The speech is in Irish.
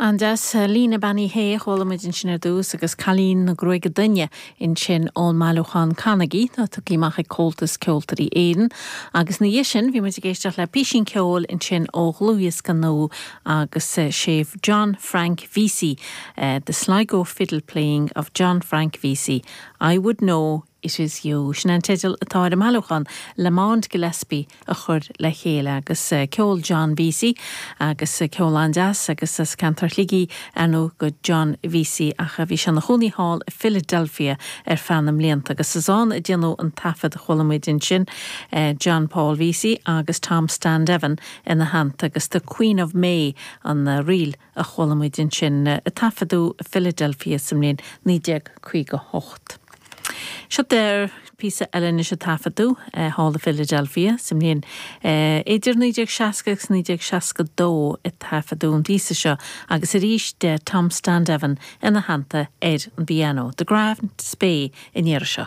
An-deas. Lena Bean Uí Shé a chuala muid ansin ar dtús agus Cailín na Gruaige Doinne ansin ón mbailiúchán Canagaí atá tugtha amach ag Comhaltas Ceoltóirí Éireann. Agus ina dhiaidh sin bhí muid ag éisteacht le písín ceoil ansin ó dhlúthdhiosca nua agus sé John Frank Vesey, The Sligo Fiddle Playing of John Frank Vesey, I Would Know It Is You. Sin é an teideal atá ar an mbailiúchán Lamond Gillespie a chuir le chéile agus ceol John Vesey agus ceol an-deas agus as ceantar Shligigh ar ndóigh do John Vesey ach bhí sé ina chónaí thall i Philadelphia ar feadh na mblianta agus is ann a déanadh an taifead a chuala muid ansin John Paul Vesey agus Tom Standeven ina theannta agus The Queen of May an ríl a chuala muid ansin a taifeadadh i Philadelphia sa mbliain 1958. Seo píosa eile anois a taifeadadh thall i Philadelphia sa mbliain idir 1960 agus 1962 a taifeadadh an píosa seo agus arís Tom Standeven ina theannta ar an bpianó. The Grand Spey an iarraidh seo.